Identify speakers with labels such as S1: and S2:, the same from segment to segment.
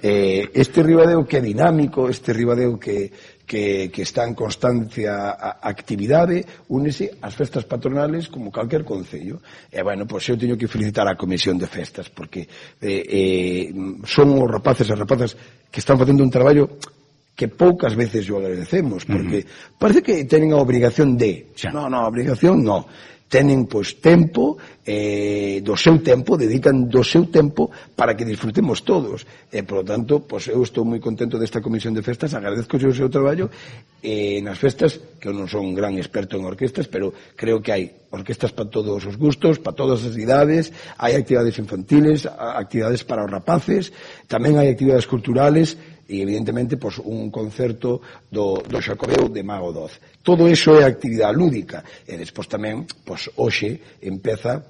S1: Este Ribadeo que é dinámico, este Ribadeo que está en constancia actividade, únese ás festas patronales como calquer concello. E, bueno, pois eu teño que felicitar a Comisión de Festas, porque son os rapaces e rapazas que están facendo un traballo que poucas veces o agradecemos, porque parece que teñen a obrigación de... Non, a obrigación non. Tenen, pois, tempo, do seu tempo, dedican do seu tempo para que disfrutemos todos. E, por lo tanto, pois, eu estou moi contento desta Comisión de Festas, agradezco o seu traballo nas festas, que eu non son un gran experto en orquestas, pero creo que hai orquestas para todos os gustos, para todas as idades, hai actividades infantiles, actividades para os rapaces, tamén hai actividades culturales, e evidentemente pois, un concerto do Xacobeo de Mago 12. Todo iso é actividade lúdica, e despois tamén, pois, hoxe empeza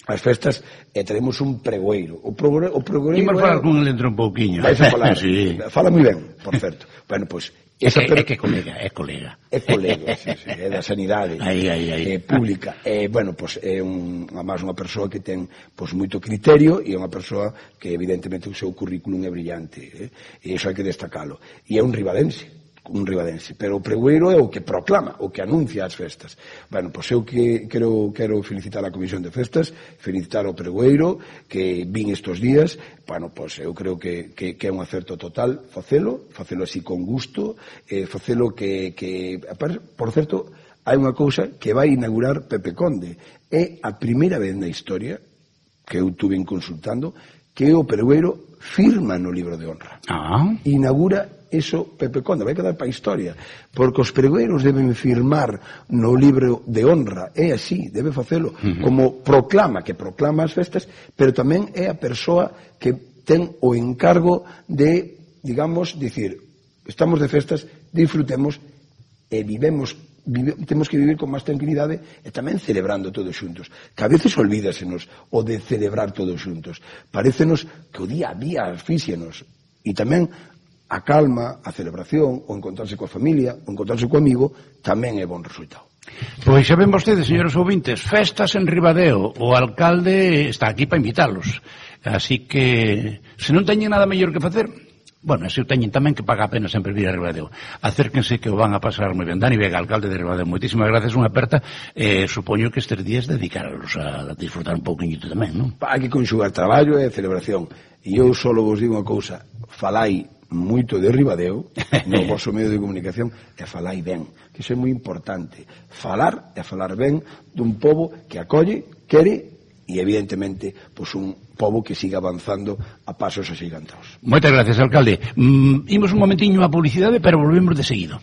S1: as festas e teremos un pregoeiro. O pregoeiro
S2: imos falar con el dentro un pouquiño.
S1: Vais a falar, sí. Fala moi ben, por certo. Bueno, pois,
S2: é que colega. É colega,
S1: sí, é da sanidade pública. Bueno, pois é máis unha persoa que ten pois moito criterio e é unha persoa que evidentemente o seu currículum é brillante, e iso hai que destacalo. E é un ribadense, pero o pregoeiro é o que proclama, o que anuncia as festas. Bueno, pois eu que quero felicitar a Comisión de Festas, felicitar o pregoeiro que vin estos días. Bueno, pois eu creo que é un acerto total facelo así con gusto, facelo que por certo, hai unha cousa que vai inaugurar Pepe Conde. É a primeira vez na historia que eu tuve consultando que o pregoeiro firma no libro de honra. Inaugura eso Pepe Conde, vai quedar para a historia, porque os pregoeiros deben firmar no libro de honra, é así, debe facelo, como proclama as festas, pero tamén é a persoa que ten o encargo de, digamos, dicir, estamos de festas, disfrutemos e temos que vivir con máis tranquilidade e tamén celebrando todos xuntos, que a veces olvídasenos o de celebrar todos xuntos, parécenos que o día a día asfíxenos, e tamén a calma, a celebración, o encontrarse coa familia, o encontrarse co amigo, tamén é bon resultado.
S2: Pois xa ven vostedes, señores ouvintes, festas en Ribadeo. O alcalde está aquí para invitarlos. Así que, se non teñen nada mellor que facer, bueno, se o teñen tamén que paga a pena sempre vir a Ribadeo. Acérquense que o van a pasar moi ben. Dani Vega, alcalde de Ribadeo, moitísimas gracias, unha aperta. Supoño que estes días dedicarlos a disfrutar un pouquinho tamén, non?
S1: Hai que conxugar traballo e celebración. E eu só vos digo unha cousa, falai moito de Ribadeo no vosso medio de comunicación e falai ben, que iso é moi importante, falar e falar ben dun pobo que acolle, quere e evidentemente pois un pobo que siga avanzando a pasos axigantados.
S2: Moitas gracias, alcalde. Imos un momentiño a publicidade, pero volvemos de seguido.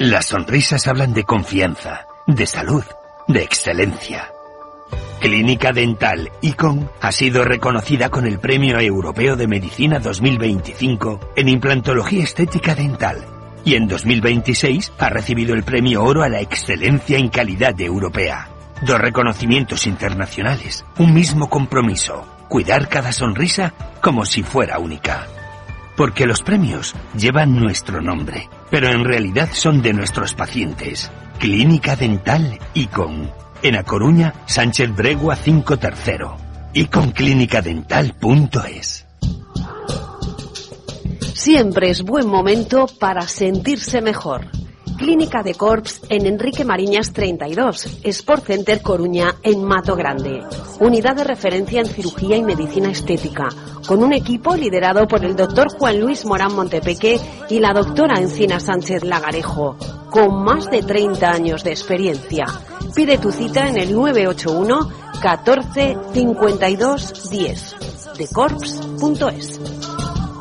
S3: Las sonrisas hablan de confianza, de salud, de excelencia. Clínica Dental Icon ha sido reconocida con el Premio Europeo de Medicina 2025 en implantología estética dental y en 2026 ha recibido el Premio Oro a la Excelencia en Calidad Europea. 2 reconocimientos internacionales, un mismo compromiso, cuidar cada sonrisa como si fuera única. Porque los premios llevan nuestro nombre, pero en realidad son de nuestros pacientes. Clínica Dental Icon. En A Coruña, Sánchez Bregua 5 tercero. iconclinicadental.es.
S4: Siempre es buen momento para sentirse mejor. Clínica de Corps en Enrique Mariñas 32, Sport Center Coruña en Mato Grande. Unidad de referencia en cirugía y medicina estética, con un equipo liderado por el doctor Juan Luis Morán Montepeque y la doctora Encina Sánchez Lagarejo, con más de 30 años de experiencia. Pide tu cita en el 981 14 52 10 decorps.es.